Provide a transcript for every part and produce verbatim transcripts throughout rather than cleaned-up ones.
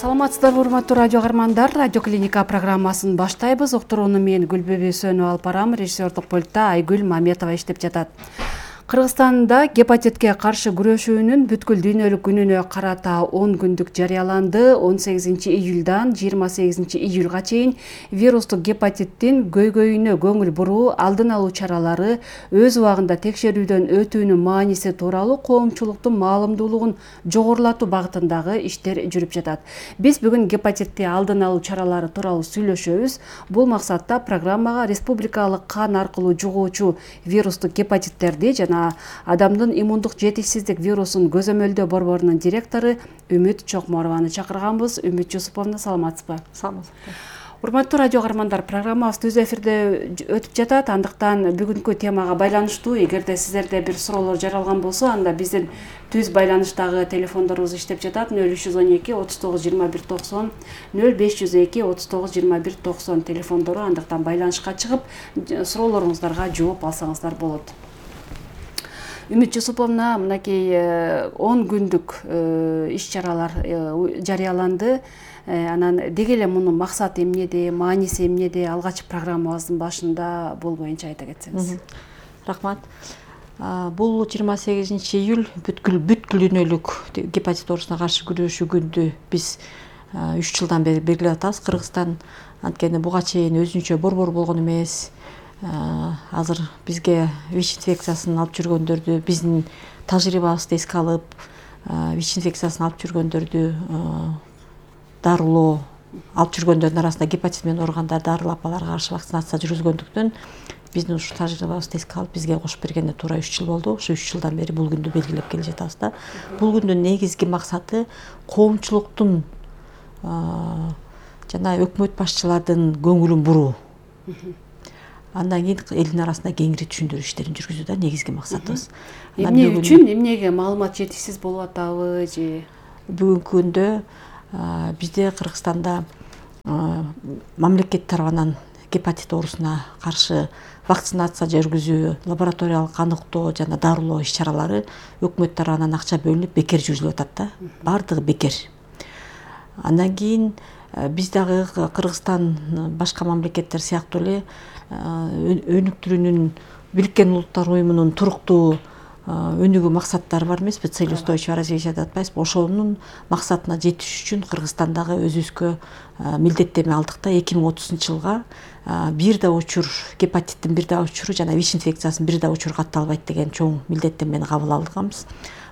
Саламатсыздарбы, урматтуу радио каармандар. Радио клиника программасын баштайбыз. Уктурууну мен Гүлбүбү Сөнү алып барам. Режиссердик пультта Айгүл Маметова иштеп жатат. Кыргызстанда гепатитке каршы күрөшүүнүн бүткүл дүйнөлүк күнүнө карата он күндүк жарыяланды. он сегизинчи июлдан жыйырма сегизинчи июлга чейин вирустук гепатиттин көйгөйүнө көңүл буруу, алдын алуу чаралары, өз убагында текшерүүдөн өтүүнүн мааниси тууралуу коомчулуктун маалымдуулугун жогорулатуу багытындагы иштер жүрүп жатат. Биз бүгүн гепатитти алдын алуу чаралары тууралуу сүйлөшөбүз. Бул максатта программага республикалык кан аркылуу жугуучу вирустук гепатиттерди жана адамдын иммундук жетишсиздик вирусун көзөмөлдөө борборунун директору Үмүт Чокморованы чакырганбыз. Үмүт Жусуповна, саламатсызбы? Саламатсызбы. Урматтуу радио каармандар, программабыз түз эфирде өтүп жатат. Андыктан бүгүнкү темага байланыштуу эгерде сиздерде бир суроолор жаралган болсо, анда биздин түз байланыштагы телефондорубуз иштеп жатат. нөл үч жүз он эки отуз тогуз жыйырма бир токсон, нөл беш жүз эки отуз тогуз жыйырма бир токсон телефондору. Андыктан байланышка чыгып, суроолоруңуздарга жооп алсаңыздар болот. Үмүт Жусуповна, мынакей он күндүк иш-чаралар жарыяланды. Анан деги эле мунун максаты эмнеде, мааниси эмнеде, алгач программабыздын башында бул боюнча айта кетсеңиз. Рахмат. Бул жыйырма сегизинчи июль бүткүл бүткүл дүйнөлүк гепатит оорусуна каршы күрөшүү күндү биз үч жылдан бери белгилеп атабыз. Кыргызстан анткени буга чейин өзүнчө борбор болгон эмес. Азыр бизге ВИЧ инфекциясын алып жүргөндөрдү, биздин тажрыйбабызды эске алып, ВИЧ инфекциясын алып жүргөндөрдү дарылоо, алып жүргөндөрдүн арасында гепатит менен ооругандар дарылап аларга каршы вакцинация жүргүзгөндүктөн биздин ушул тажрыйбабызды эске алып, бизге кошуп бергенде туура үч жыл болду. Ушу үч жылдан бери бул күндү белгилеп келе жатабыз да. Бул күндүн негизги максаты коомчулуктун жана өкмөт башчылардын көңүлүн буруу. Андан кийин элдин арасында кеңири түшүндүрүү иштерин жүргүзүү да негизги максатыбыз. Эмне үчүн, эмнеге маалымат жетишсиз болуп атабы же? Бүгүнкү күндө бизде Кыргызстанда мамлекет тарабынан гепатит оорусуна каршы вакцинация жүргүзүү, лабораториялык аныктоо жана дарылоо иш-чаралары өкмөт тарабынан акча бөлүнүп бекер жүргүзүлүп атат да. Бардыгы бекер. Андан кийин биз дагы Кыргызстан башка мамлекеттер сыяктуу эле өнүктүрүүнүн Бириккен Улуттар уюмунун туруктуу өнүгүү максаттары бар эмеспи, цель устойчивого развития деп атпайбызбы? Ошонун максатына жетиш үчүн Кыргызстандагы өзүбүзгө милдеттенме алдык да. эки миң отузунчу жылга бир да учур гепатиттин бир да учуру жана ВИЧ инфекциясынын бир да учуру катталбайт деген чоң милдеттенмени кабыл алганбыз.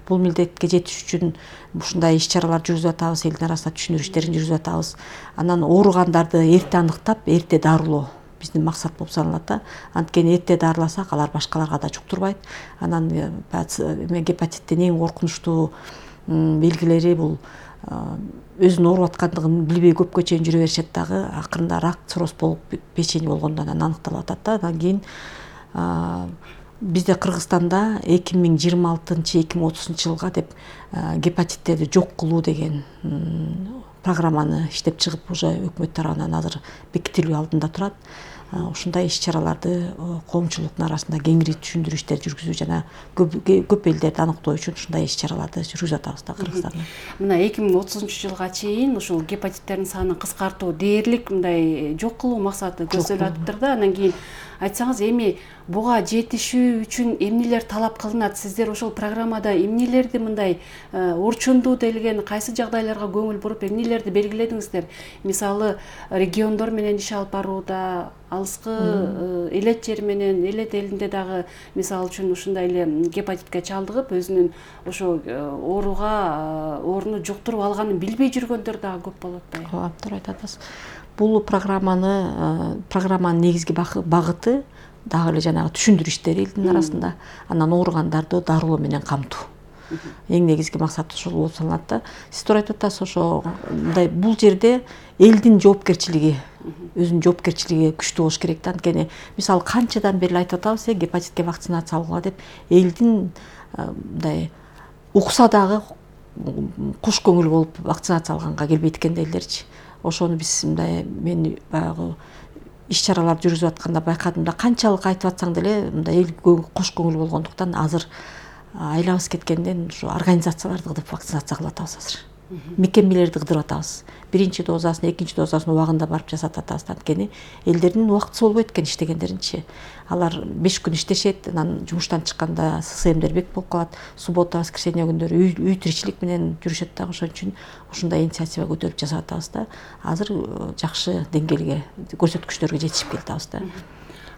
Бул милдетке жетиш үчүн ушундай иш-чаралар жүргүзүп атабыз, элдин арасында түшүндүрүү иштерин жүргүзүп атабыз. Анан ооругандарды эрте аныктап, эрте дарылоо биздин максат болуп саналат да. Анткени эрте дарыласак, алар башкаларга да жуктурбайт. Анан гепатиттин эң коркунучтуу белгилери бул өзүнүн ооруп аткандыгын билбей көпкө чейин жүрө беришет дагы. Акырында рак, цирроз болуп печени болгондон анан аныкталып атат да. Андан кийин бизде Кыргызстанда эки миң жыйырма алтынчы эки миң отузунчу жылга деп гепатиттерди жок кылуу деген программаны иштеп чыгып, уже өкмөт тарабынан азыр бекитилүү алдында турат. Ушундай иш-чараларды коомчулуктун арасында кеңири түшүндүрүү иштери жүргүзүү жана көп элдерди аныктоо үчүн ушундай иш-чараларды жүргүзүп атабыз да Кыргызстанда. Мына эки миң отузунчу жылга чейин ушул гепатиттердин санын кыскартуу дээрлик мындай жок кылуу максаты көздөлүп атыптыр да. Андан кийин айтсаңыз, эми буга жетишүү үчүн эмнелер талап кылынат? Сиздер ошол программада эмнелерди мындай орчундуу делген, кайсы жагдайларга көңүл буруп, эмнелерди белгиледиңиздер? Мисалы, региондор менен иш алып барууда, алыскы элет жер менен, элет элинде дагы мисалы үчүн ушундай эле гепатитке чалдыгып, өзүнүн ошо ооруга, ооруну жуктуруп алганын билбей жүргөндөр дагы көп болот да. Ооба, туура айтасыз. Бул программаны программанын негизги багыты дагы эле жанагы түшүндүрүү иштери элдин арасында, анан ооругандарды дарылоо менен камтуу. Эң негизги максат ошол болуп саналат да. Сиз туура айтып атасыз, ошо мындай бул жерде элдин жоопкерчилиги, өзүнүн жоопкерчилиги күчтүү болуш керек да. Анткени мисалы канчадан бери айтып атабыз, гепатитке вакцинация алууга деп, элдин мындай укса дагы куш көңүл болуп вакцинация алганга келбейт экен да элдерчи. Ошону биз мындай мен баягы иш-чаралар жүргүзүп атканда байкадым да, канчалык айтып атсаң деле мындай эл кош көңүл болгондуктан азыр айлабыз кеткенден ушу организацияларды кылып вакцинация кылып атабыз азыр. Мекемелерди кыдырып атабыз. биринчи дозасын, экинчи дозасын убагында барып жасатып атабыз. Анткени элдердин убактысы болбойт экен иштегендеринчи. Алар беш күн иштешет, анан жумуштан чыкканда ССМдер бек болуп калат. Суббота, воскресенье күндөрү үй, үй тиричилик менен жүрүшөт да. Ошон үчүн ушундай инициатива көтөрүп жасап атабыз да. Азыр жакшы деңгээлге, көрсөткүчтөргө жетишип келатабыз да.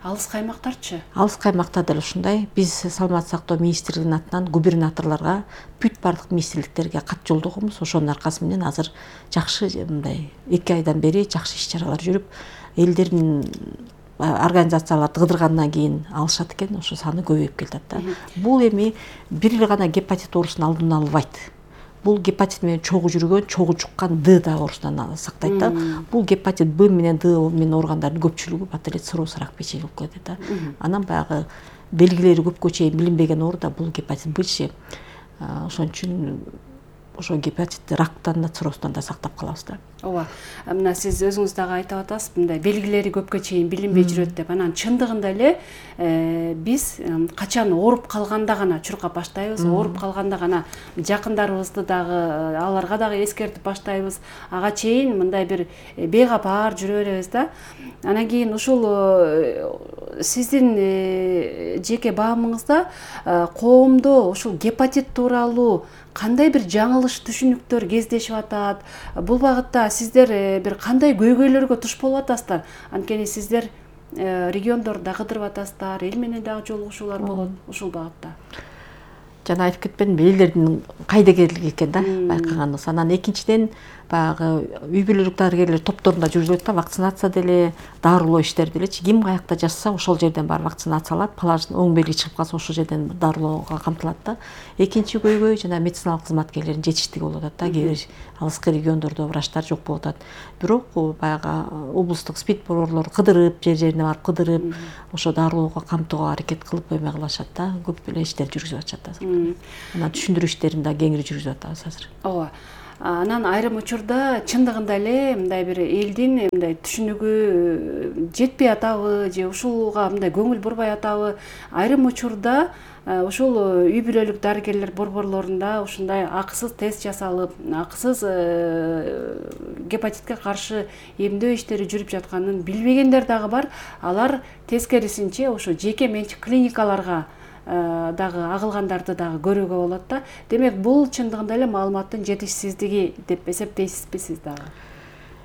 Алыс каймактарчы? Алыс каймакта деле ушундай. Биз Саламаттык сактоо министрлигинин атынан губернаторлорго, бүт бардык министрликтерге кат жолдогонбуз. Ошонун аркасы менен азыр жакшы мындай эки айдан бери жакшы иш-чаралар жүрүп, элдердин организацияларды кыдыргандан кийин алышат экен, ошо саны көбөйүп келатат да. Бул эми бир эле гана гепатит оорусун алдын албайт. Бул гепатит менен чогуу жүргөн, чогуу жуккан Д да оорусунан сактайт да. Бул гепатит Б менен Д менен ооругандардын көпчүлүгү бат эле цирроз рак печени болуп кетет да. Анан баягы белгилери көпкө чейин билинбеген оору да бул гепатит Б. Ошон үчүн ошо гепатит рактан да, циррозтон да сактап калабыз да. Ооба. Мына сиз өзүңүз дагы айтып атасыз, мындай белгилери көпкө чейин билинбей жүрөт деп. Анан чындыгында эле биз качан ооруп калганда гана чуркап баштайбыз, ооруп калганда гана жакындарыбызды дагы, аларга дагы эскертип баштайбыз. Ага чейин мындай бир бейкапар жүрө беребиз да. Анан кийин ушул сиздин жеке баамыңызда коомдо ушул гепатит тууралуу кандай бир жаңылыш түшүнүктөр кездешип атат? Бул багытта сиздер бир кандай көйгөйлөргө туш болуп атасыздар? Анткени сиздер региондордо кыдырып атасыздар, эл менен дагы жолугушуулар болот ушул багытта. Жана айтып кетпедимби, элдердин кайдыгерлиги экен да байкаганыбыз. Анан экинчиден баягы үй бүлөлүк дарыгерлер топторунда жүргүзүлөт да, вакцинация деле, дарылоо иштери делечи. Ким каякта жашса, ошол жерден барып вакцинацияланат, плаждын оң белги чыгып калса, ошол жерден дарылоого камтылат да. Экинчи көйгөй жана медициналык кызматкерлердин жетиштиги болуп атат да. Кээ бир алыскы региондордо врачтар жок болуп атат. Бирок баягы облустук спид борборлор кыдырып, жер жерине барып кыдырып, ошо дарылоого камтууга аракет кылып коймой калышат да. Көп эле иштер жүргүзүп атышат азыр. Анан түшүндүрүү иштерин да кеңири жүргүзүп атабыз азыр. Ооба. Анан айрым учурда чындыгында эле мындай бир элдин мындай түшүнүгү жетпей атабы же ушуга мындай көңүл бурбай атабы? Айрым учурда ушул үй бүлөлүк дарыгерлер борборлорунда ушундай акысыз тест жасалып, акысыз гепатитке каршы эмдөө иштери жүрүп жатканын билбегендер дагы бар. Алар тескерисинче ошо жеке менчик клиникаларга дагы агылгандарды дагы көрүүгө болот да. Демек, бул чындыгында эле маалыматтын жетишсиздиги деп эсептейсизби сиз дагы?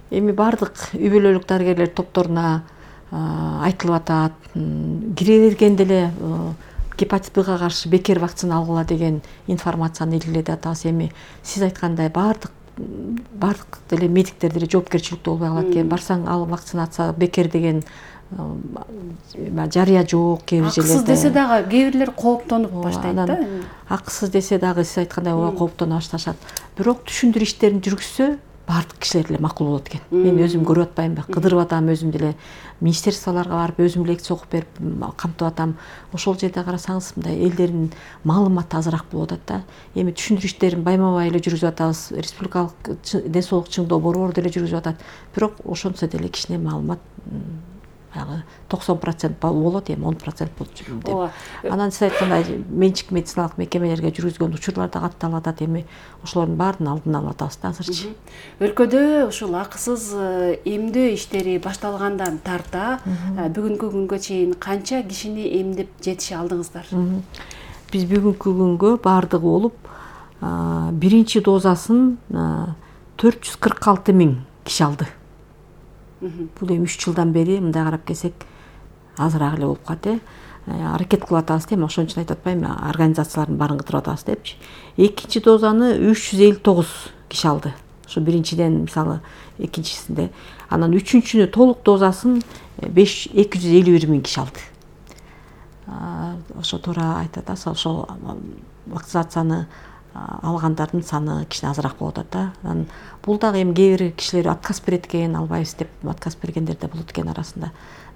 Эми бардык үй бүлөлүк дарыгерлер топторуна айтылып атат. Кире бергенде эле гепатит Бга каршы бекер вакцина алгыла деген информацияны илгилетип атабыз. Эми сиз айткандай бардык бардык деле медиктер деле жоопкерчиликтүү болбой калат экен. Барсаң ал вакцинация бекер деген жарыя жок кээ бир жерлерде. Акысыз десе дагы кээ бирлер кооптонуп баштайт да. Акысыз десе дагы сиз айткандай ооба кооптоно башташат. Бирок түшүндүрүү иштерин жүргүзсө бардык кишилер эле макул болот экен. Мен өзүм көрүп атпаймынбы, кыдырып атам өзүм деле, министерстволорго барып өзүм лекция окуп берип камтып атам. Ошол жерде карасаңыз мындай элдердин маалыматы азыраак болуп атат да. Эми түшүндүрүү иштерин байма-бай эле жүргүзүп атабыз. Республикалык ден соолук чыңдоо борбору деле жүргүзүп атат. Бирок ошонсо деле кичине маалымат токсон процент болот, эми он процент болот деп. Анан сиз айткандай менчик медициналык мекемелерге жүргүзгөн учурлар да катталып атат. Эми ошолордун баарын алдын алып атабыз да азырчы. Өлкөдө ушул акысыз эмдөө иштери башталгандан тарта бүгүнкү күнгө чейин канча кишини эмдеп жетише алдыңыздар? Биз бүгүнкү күнгө баардыгы болуп биринчи дозасын төрт жүз кырк алты миң киши алды. Бул эми үч жылдан бери мындай карап келсек азыраак эле болуп калат э. Аракет кылып атабыз эми ошон үчүн айтып атпаймынбы, организациялардын баарын кыдырып атабыз депчи. Экинчи дозаны үч жүз элүү тогуз киши алды. Ошо биринчиден мисалы экинчисинде. Анан үчүнчүнү толук дозасын эки жүз элүү бир миң киши алды. Ошо туура айтып атасыз, ошол вакцинацияны алгандардын саны кичине азыраак болуп атат да. Анан бул дагы эми кээ бир кишилер отказ берет экен, албайбыз деп отказ бергендер да болот экен арасында.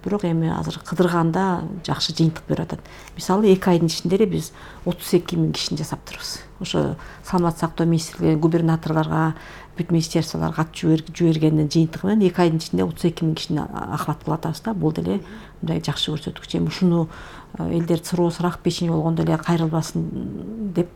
бирок эми азыр кыдырганда жакшы жыйынтык берип атат. Мисалы эки айдын ичинде эле биз отуз эки миң кишини жасаптырбыз. Ошо саламаттык сактоо министрлиги губернаторлорго бүт министерстволорго кат жибергендин жыйынтыгы менен эки айдын ичинде отуз эки миң кишини охват кылып атабыз да. Бул деле мындай жакшы көрсөткүч. Эми ушуну элдер суроосу рак печени болгондо эле кайрылбасын деп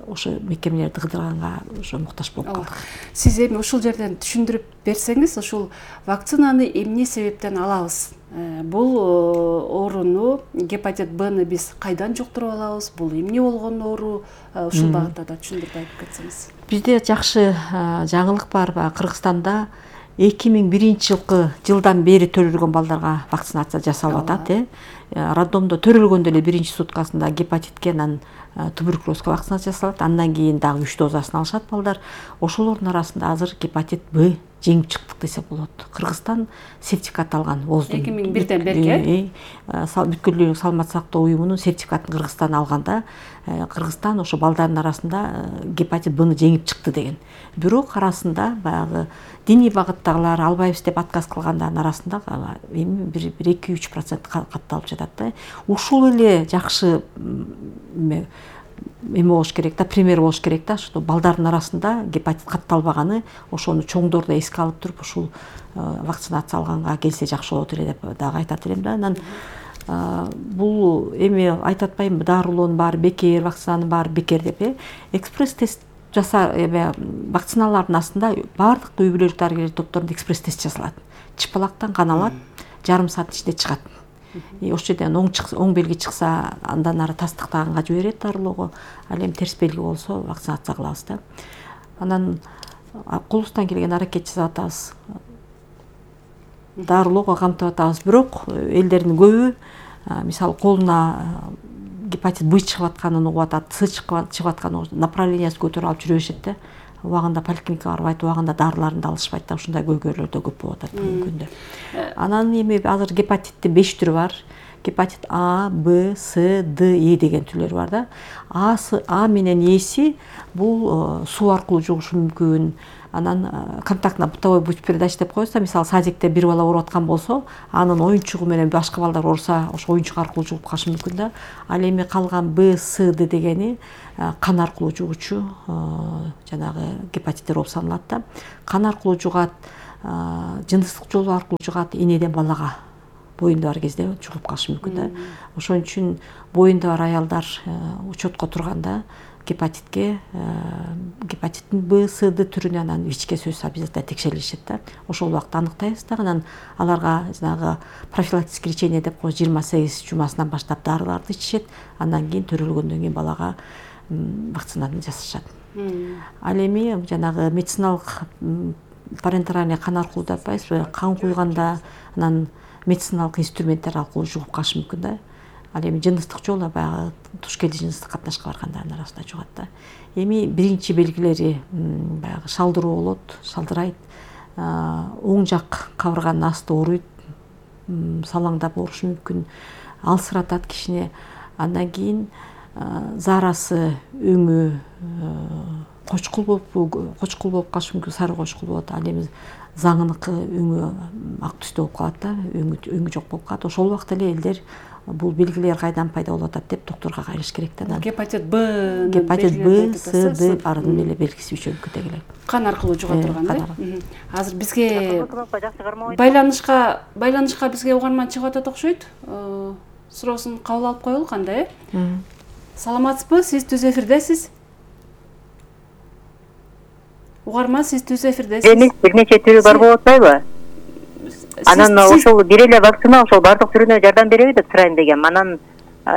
ошо мекемелерди кыдырганга ошо муктаж болуп калдык. Сиз эми ушул жерден түшүндүрүп берсеңиз, ушул вакцинаны эмне себептен алабыз? Бул ооруну, гепатит Бны биз кайдан жуктуруп алабыз? Бул эмне болгон оору? Ушул багытта да түшүндүрүп айтып кетсеңиз. Бизде жакшы жаңылык бар. Кыргызстанда эки миң биринчи жылкы жылдан бери төрөлгөн балдарга вакцинация жасалып атат. Роддомдо төрөлгөндө эле биринчи суткасында гепатитке, анан туберкулезге вакцинация жасалат. Андан кийин дагы үч дозасын алышат балдар. Ошолордун арасында азыр гепатит Б жеңип чыктык десе болот. Кыргызстан сертификат алган воздун. эки миң бирден бери бүткүл дүйнөлүк саламаттык сактоо уюмунун сертификатын Кыргызстан алганда, Кыргызстан ошо балдардын арасында гепатит Бны жеңип чыкты деген. Бирок арасында баягы диний багыттагылар албайбыз деп отказ кылгандардын арасында эми бир эки үч процент катталып жатат да. Ушул эле жакшы эме болуш керек да, пример болуш керек да, что балдардын арасында гепатит катталбаганы, ошону чоңдор да эске алып туруп ушул вакцинация алганга келсе жакшы болот эле деп дагы айтат элем да. Анан бул эми айтып атпайбынбы, дарылоонун баары бекер, вакцинанын баары бекер деп, э экспресс тест жаса эме вакциналардын астында баардык үй бүлөлүк дарыгерлер топторунда экспресс тест жасалат. Чыпалактан кан алат, жарым саат ичинде чыгат. Ошол жерден оң чыкса, оң белги чыкса, андан ары тастыктаганга жиберет дарылоого. Ал эми терс белги болсо вакцинация кылабыз да. Анан колубуздан келген аракет жасап атабыз. Дарылоого камтып атабыз, бирок элдердин көбү мисалы колуна гепатит Б чыгып атканын угуп атат, С чыгып атканын направлениясын көтөрүп алып жүрө беришет да. Убагында поликлиникага барбайт, убагында дарыларын да алышпайт да. Ушундай көйгөйлөр да көп болуп атат бүгүнкү күндө. Анан эми азыр гепатиттин беш түрү бар. Гепатит А, Б, С, Д, Е деген түрлөрү бар да. А, А менен Эси бул суу аркылуу жугушу мүмкүн. Анан контактный бытовой путь передачи деп коебуз. Мисалы садикте бир бала ооруп аткан болсо, анын оюнчугу менен башка балдар ооруса, ошо оюнчук аркылуу жугуп калышы мүмкүн да. Ал эми калган Б, С, Д дегени кан аркылуу жугуучу жанагы гепатиттер болуп саналат да. Кан аркылуу жугат, жыныстык жолу аркылуу жугат, энеден балага боюнда бар кезде жугуп калышы мүмкүн да. Ошон үчүн боюнда бар аялдар учетко турганда гепатитке, гепатиттин Б, С, Д түрүнө анан ВИЧке сөзсүз обязательно текшерилишет да. Ошол убакта аныктайбыз да. Анан аларга жанагы профилактический лечение деп коебуз, жыйырма сегиз жумасынан баштап дарыларды ичишет. Андан кийин төрөлгөндөн кийин балага вакцинаны жасашат. Ал эми жанагы медициналык парентеральный кан аркылуу деп атпайбызбы, кан куйганда анан медициналык инструменттер аркылуу жугуп калышы мүмкүн да. Ал эми жыныстык жолу баягы туш келди жыныстык катнашка баргандардын арасында жугат да. Эми биринчи белгилери баягы шалдыруу болот, шалдырайт, оң жак кабырганын асты ооруйт, салаңдап оорушу мүмкүн, алсыратат кишини. Андан кийин заарасы өңү кочкул болуп, кочкул болуп калышы мүмкүн, сары кочкул болот. Ал эми заңыныкы өңү ак түстө болуп калат да, өңү өңү жок болуп калат. Ошол убакта эле элдер бул белгилер кайдан пайда болуп атат деп доктурга кайрыш керек да. Гепатит Б, гепатит Б, С, Д баарынын эле белгиси үчөө мүмкүн эле. Кан аркылуу жуга турган да. Азыр бизге байланышка байланышка бизге угарман чыгып атат окшойт. Суроосун кабыл алып коелу, кандай э? Саламатсызбы? Сиз түз эфирдесиз. Угарман, сиз түз эфирдесиз. Эми бир нече түрү бар болуп атпайбы? Анан ошол бир эле вакцина ошол бардык түрүнө жардам береби деп сурайм дегем. Анан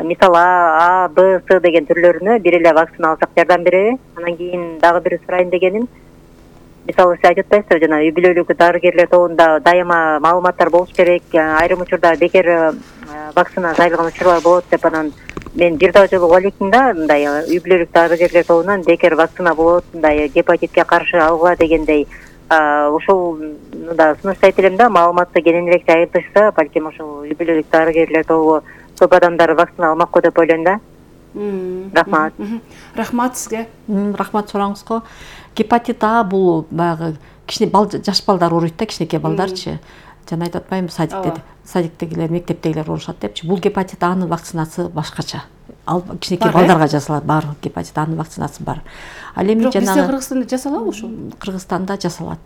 мисалы А, Б, С деген түрлөрүнө бир эле вакцина алсак жардам береби? Анан кийин дагы бир сурайм дегеним, мисалы сиз айтып атпайсызбы, жана үй бүлөлүк дарыгерлер тобунда дайыма маалыматтар болуш керек, айрым учурда бекер вакцина жайылган учурлар болот деп. Анан мен бир да жолу угалыктым да, мындай үй бүлөлүк дарыгерлер тобунан бекер вакцина болот, мындай гепатитке каршы алгыла дегендей ошол да сунуштайт элем да, маалыматты кенен элек жайылтышса, балким ошол үй бүлөлүк дарыгерлер тобу көп адамдар вакцина алмак го деп ойлойм да. Рахмат. Рахмат сизге. Рахмат сураңызга. Гепатит А бул баягы кичине бал, жаш балдар ооруйт да, кичинекей балдарчы. жана айтып атпаймынбы садикте садиктегилер мектептегилер болушат депчи. Бул гепатит Анын вакцинасы башкача. Ал кичинекей балдарга жасалат. Бар гепатит Анын вакцинасы бар. Ал эми жанагы жанагы бизде Кыргызстанда жасалабы ошол? Кыргызстанда жасалат.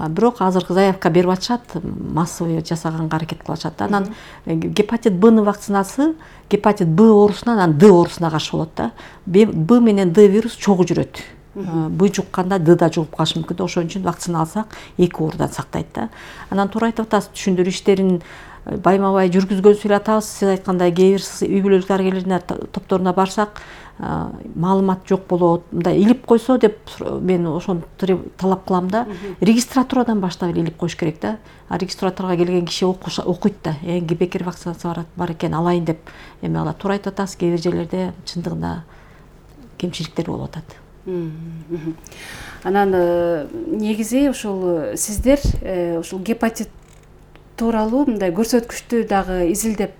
Бирок азыркы заявка берип атышат, массовый жасаганга аракет кылып атышат да. Анан гепатит Б'нын вакцинасы гепатит Б оорусуна, анан Д оорусуна каршы болот да. Б менен Д вирус чогуу жүрөт. Б жукканда Д да жугуп калышы мүмкүн да. Ошон үчүн вакцина алсак эки оорудан сактайт да. Анан туура айтып атасыз, түшүндүрүү иштерин байма бай жүргүзгөн эле атабыз. Сиз айткандай кээ бир үй бүлөлүк дарыгерлердин топторуна барсак, маалымат жок болот. Мындай илип койсо деп мен ошону талап кылам да. Регистратурадан баштап эле илип коюш керек да. А регистратурага келген киши окуйт да. Эң бекер вакцинация бар экен, алайын деп эме алат. Туура айтып атасыз, кээ бир жерлерде чындыгында кемчиликтер болуп атат. Анан негизи ушул сиздер ушул гепатит тууралуу мындай көрсөткүчтү дагы изилдеп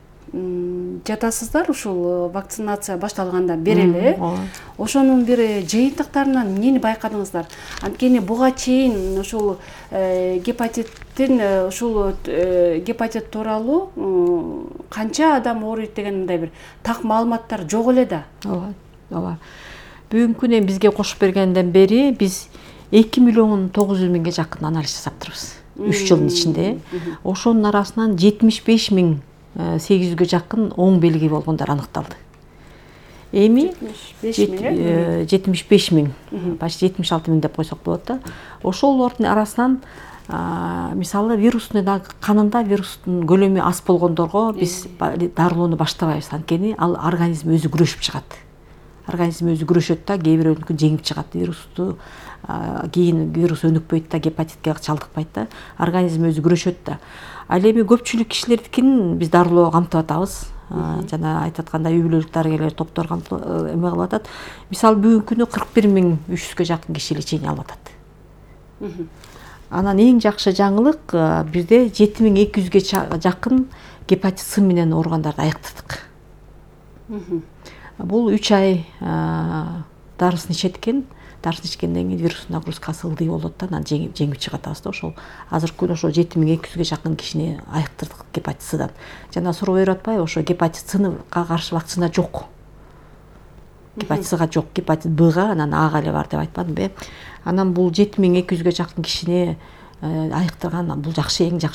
жатасыздар ушул вакцинация башталгандан бери эле. Ошонун бир жыйынтыктарынан эмнени байкадыңыздар? Анткени буга чейин ушул гепатиттин ушул гепатит тууралуу канча адам ооруйт деген мындай бир так маалыматтар жок эле да. Ооба, ооба. Бүгүнкү күнү бизге кошуп бергенден бери биз эки миллион тогуз жүз миңге жакын анализ жасаптырбыз. үч жылдын ичинде. Ошонун арасынан жетимиш беш миң сегиз жүзгө жакын оң белги болгондор аныкталды. Эми жетимиш беш миң, почти жетимиш алты миң деп койсок болот да. Ошолордун арасынан мисалы вирустун канында вирустун көлөмү аз болгондорго биз дарылоону баштабайбыз. Анткени ал организм өзү күрөшүп чыгат. Организм өзү күрөшөт да, кээ бирөөнүкү жеңип чыгат вирусту. Кийин вирус өнүкпөйт да, гепатитке чалдыкпайт да. Организм өзү күрөшөт да. Ал эми көпчүлүк кишилердикин биз дарылоо камтып атабыз. Жана айтып аткандай үй бүлөлүк дарыгерлер топтор эме кылып атат. Мисалы бүгүнкү күнү кырк бир миң үч жүзгө жакын киши лечение алып атат. Анан эң жакшы жаңылык бизде жети миң эки жүзгө жакын гепатит С менен ооругандарды айыктырдык. Бул үч ай дарысын ичеткен. Дарысын ичкенден кийин вирус нагрузкасы ылдый болот да, анан жеңип чыгып атабыз да. Ошол азыркы күнү ошо жети миң эки жүзгө жакын кишини айыктырдык гепатит Сдан. Жана суроо берип атпайбы, ошо гепатит Сга каршы вакцина жок. Гепатит Сга жок, гепатит Бга, анан Ага эле бар деп айтпадымбы? Анан бул жети миң эки жүзгө жакын кишини айыктырган, бул жакшы, эң жакшы